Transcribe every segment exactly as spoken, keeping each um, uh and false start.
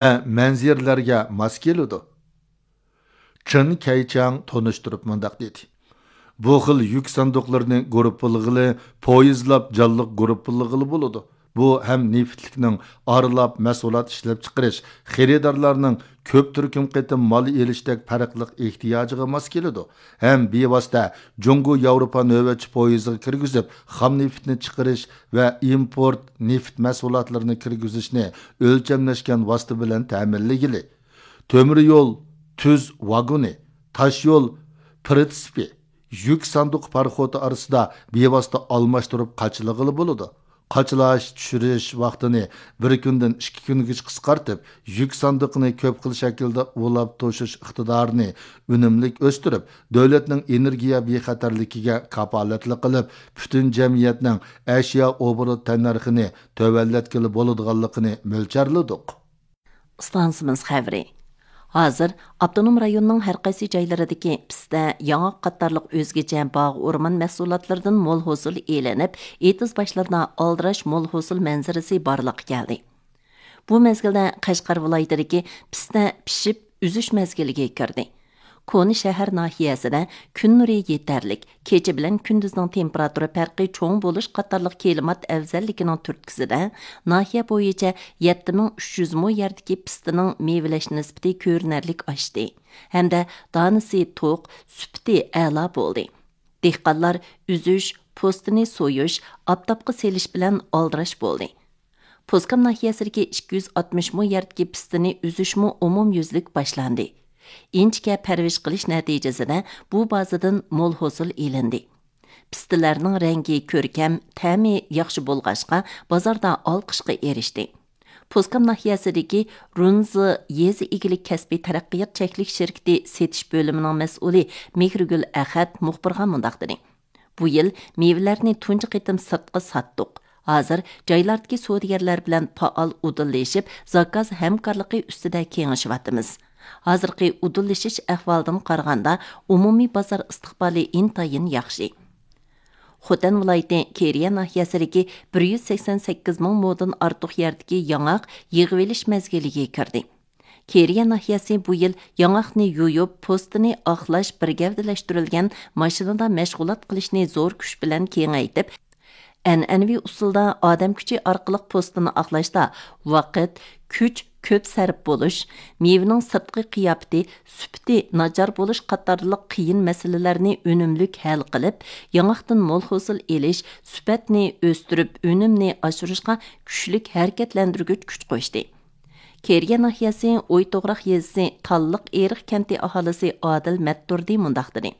ۋە مەنزىرىلەرگە ماس كېلىدۇ. چېن كەيچاڭ تونۇشتۇرۇپ مۇنداق دېدى: بۇ خىل يۈك ساندۇقلىرىنى گۇرۇپپىلىغىلى پويىزلاپ جانلىق گۇرۇپپىلىغىلى بولىدۇ. بۇ ھەم نېفىتلىكنىڭ ئارىلاپ مەھسۇلات ئىشلەپچىقىرىش، خېرىدارلارنىڭ كۆپ تۈركۈم قېتىم مال ئېلىشتەك پەرقلىق ئېھتىياجىغا ماس كېلىدۇ، ھەم بىۋاسىتە جۇڭگو ياۋروپا نۆۋەتچى پويىزىغا كىرگۈزۈپ، خام نېفىتنى چىقىرىش ۋە ئىمپورت نېفىت مەھسۇلاتلىرىنى كىرگۈزۈشنى ئۆلچەملەشكەن ۋاسىتە بىلەن تەمىنلىگىلى. تۆمۈر يول تۈز ۋاگونى، تاش يول پرىتسپى، يۈك ساندۇقى پاراخوتى ئارىسىدا بىۋاسىتە ئالماشتۇرۇپ قاچىلىغىلى بولىدۇ. قاچىلاش، چۈشۈرۈش ۋاقتىنى بىر كۈندىن ئىككى كۈنگىچە قىسقارتىپ، يۈك ساندۇقىنى كۆپ خىل شەكىلدە ئۇلاپ توشۇش ئىقتىدارىنى ئۈنۈملۈك ئۆستۈرۈپ، دۆلەتنىڭ ئېنېرگىيە بىخەتەرلىكىگە كاپالەتلىك قىلىپ، پۈتۈن جەمئىيەتنىڭ ئەشيا ئوبوروت تەننەرخىنى تۆۋەنلەتكىلى بولىدىغانلىقىنى مۆلچەرلىدۇق. ئىستانسىمىز خەۋىرى. ھازىر ئاپتونوم رايوننىڭ ھەر قايسى جايلىرىدىكى پىستە، ياڭاق قاتارلىق ئۆزگىچە باغ ئورمان مەھسۇلاتلىرىدىن مول ھوسۇل ئېلىنىپ، ئېتىز باشلىرىدا ئالدىراش مول ھوسۇل مەنزىرىسى بارلىققا كەلدى. بۇ مەزگىلدە قەشقەر ۋىلايىتىدىكى پىستە پىشىپ ئۈزۈش مەزگىلىگە كىردى. كونا شەھەر ناھىيەسىدە كۈن نۇرى يېتەرلىك، كېچە بىلەن كۈندۈزنىڭ تېمپېراتۇرا پەرقى چوڭ بولۇش قاتارلىق كىلىمات ئەۋزەللىكىنىڭ تۈرتكىسىدە، ناھىيە بويىچە يەتتە مىڭ ئۈچ يۈز مو يەردىكى پىستىنىڭ مېۋىلەش نىسبىتى كۆرۈنەرلىك ئاشتى ھەمدە دانىسى توق، سۈپىتى ئەلا بولدى. دېھقانلار ئۈزۈش، پوستىنى سويۇش، ئاپتاپقا سېلىش بىلەن ئالدىراش بولدى. پوسكام ناھىيەسىدىكى ئىككى يۈز ئاتمىش مو يەردىكى پىستىنى ئۈزۈشمۇ ئومۇميۈزلۈك باشلاندى. ئىنچىكە پەرۋىش قىلىش نەتىجىسىدە بۇ بازىدىن مول ھوسۇل ئېلىندى. پىستىلەرنىڭ رەڭگى كۆركەم، تەمى ياخشى بولغاچقا، بازاردا ئالقىشقا ئېرىشتى. پوسكام ناھىيەسىدىكى رۇنزى يېزا ئىگىلىك كەسپىي تەرەققىيات چەكلىك شىركىتى سېتىش بۆلۈمىنىڭ مەسئۇلى مېھرىگۈل ئەخەت مۇخبىرغا مۇنداق دېدى: بۇ يىل مېۋىلەرنى تۇنجى قېتىم سىرتقا ساتتۇق. ھازىر جايلاردىكى سودىگەرلەر بىلەن پائال ئۇدۇللىشىپ، زاكاز ھەمكارلىقى ئۈستىدە كېڭىشىۋاتىمىز. ھازىرقى ئۇدۇللىشىش ئەھۋالىدىن قارىغاندا، ئومۇمىي بازار ئىستىقبالى ئىنتايىن ياخشى. خوتەن ۋىلايىتى كېرىيە ناھىيەسىدىكى بىر يۈز سەكسەن سەككىز مىڭ مودىن ئارتۇق يەردىكى ياڭاق يىغىۋېلىش مەزگىلىگە كىردى. كېرىيە ناھىيەسى بۇ يىل ياڭاقنى يۇيۇپ، پوستىنى ئاقلاش، بىر گەۋدىلەشتۈرۈلگەن ماشىنىدا مەشغۇلات قىلىشنى زور كۈچ بىلەن كېڭەيتىپ، ئەنئەنىۋى ئۇسۇلدا ئادەم كۈچى ئارقىلىق پوستىنى ئاقلاشتا ۋاقىت، كۈچ كۆپ سەرپ بولۇش، مېۋىنىڭ سىرتقى قىياپىتى، سۈپىتى ناچار بولۇش قاتارلىق قىيىن مەسىلىلەرنى ئۈنۈملۈك ھەل قىلىپ، ياڭاقتىن مول ھوسۇل ئېلىش، سۈپەتنى ئۆستۈرۈپ، ئۈنۈمنى ئاشۇرۇشقا كۈچلۈك ھەرىكەتلەندۈرگۈچ كۈچ قوشتى. كېرىيە ناھىيەسى ئويتوغراق يېزىسى تاللىق ئېرىق كەنتى ئاھالىسى ئادىل مەتتۇردى مۇنداق دېدى: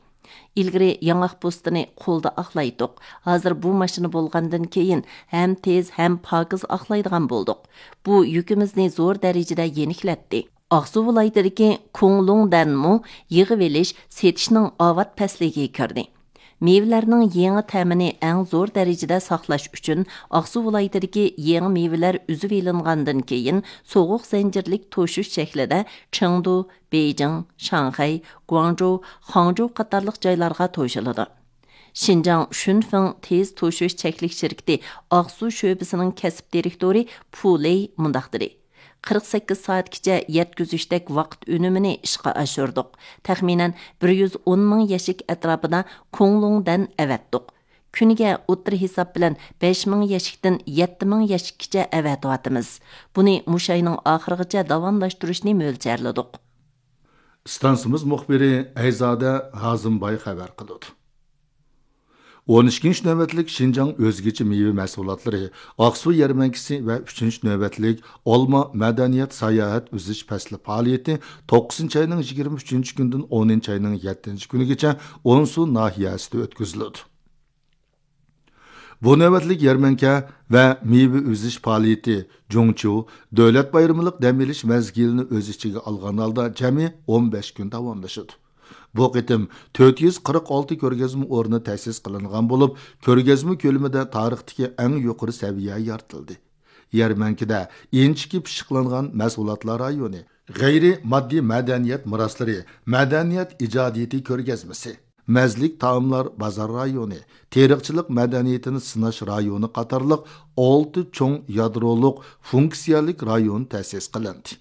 ئىلگىرى ياڭاق پوستىنى قولدا ئاقلايتتۇق. ھازىر بۇ ماشىنا بولغاندىن كېيىن ھەم تېز، ھەم پاكىز ئاقلايدىغان بولدۇق. بۇ يۈكىمىزنى زور دەرىجىدە يېنىكلەتتى. ئاقسۇ ۋىلايىتىدىكى كۇڭلۇڭدەنمۇ يىغىۋېلىش، سېتىشنىڭ ئاۋات پەسلىگە كىردى. مېۋىلەرنىڭ يېڭى تەمىنى ئەڭ زور دەرىجىدە ساقلاش ئۈچۈن، ئاقسۇ ۋىلايىتىدىكى يېڭى مېۋىلەر ئۈزۈۋېلىنغاندىن كېيىن، سوغۇق زەنجىرلىك توشۇش شەكلىدە چېڭدۇ، بېيجىڭ، شاڭخەي، گۇاڭجۇ، خاڭجۇ قاتارلىق جايلارغا توشۇلىدۇ. شىنجاڭ شۈنفېڭ تېز توشۇش چەكلىك شىركىتى ئاقسۇ شۆبىسىنىڭ كەسىپ دىرېكتورى پۇ لېي مۇنداق دېدى: قىرىق سەككىز سائەتكىچە يەتكۈزۈشتەك ۋاقىت ئۈنۈمىنى ئىشقا ئاشۇردۇق. تەخمىنەن بىر يۈز ئون مىڭ يەشىك ئەتراپىدا كۇڭلۇڭدەن ئەۋەتتۇق. كۈنىگە ئوتتۇرا ھېساب بىلەن بەش مىڭ يەشىكتىن يەتتە مىڭ يەشىككىچە ئەۋەتىۋاتىمىز. بۇنى مۇشۇ ئاينىڭ ئاخىرىغىچە داۋاملاشتۇرۇشنى مۆلچەرلىدۇق. ئىستانسىمىز مۇخبىرى ئەيزادە ھازىمباي خەۋەر قىلىدۇ. ئون ئىككىنچى نۆۋەتلىك شىنجاڭ ئۆزگىچە مېۋە مەھسۇلاتلىرى ئاقسۇ يەرمەنكىسى ۋە ئۈچىنچى نۆۋەتلىك ئالما مەدەنىيەت ساياھەت ئۈزۈش پەسلى پائالىيىتى توققۇزىنچى ئاينىڭ يىگىرمە ئۈچىنچى كۈنىدىن ئونىنچى ئاينىڭ يەتتىنچى كۈنىگىچە ئونسۇ ناھىيەسىدە ئۆتكۈزۈلىدۇ. بۇ نۆۋەتلىك يەرمەنكە ۋە مېۋە ئۈزۈش پائالىيىتى جۇڭچيۇ دۆلەت بايرىملىق دەم ئېلىش مەزگىلىنى ئۆز ئىچىگە ئالغان ھالدا جەمئىي ئون بەش كۈن داۋاملىشىدۇ. بۇ قېتىم تۆت يۈز قىرىق ئالتە كۆرگەزمە ئورنى تەسىس قىلىنغان بولۇپ، كۆرگەزمە كۆلىمىدە تارىختىكى ئەڭ يۇقىرى سەۋىيە يارىتىلدى. يەرمەنكىدە ئىنچىكە پىششىقلانغان مەھسۇلاتلار رايونى، غەيرىي ماددىي مەدەنىيەت مىراسلىرى، مەدەنىيەت ئىجادىيىتى كۆرگەزمىسى، مەززىلىك تائاملار بازار رايونى، تېرىقچىلىق مەدەنىيىتىنى سىناش رايونى قاتارلىق ئالتە چوڭ يادرولۇق فۇنكسىيەلىك رايون تەسىس قىلىندى.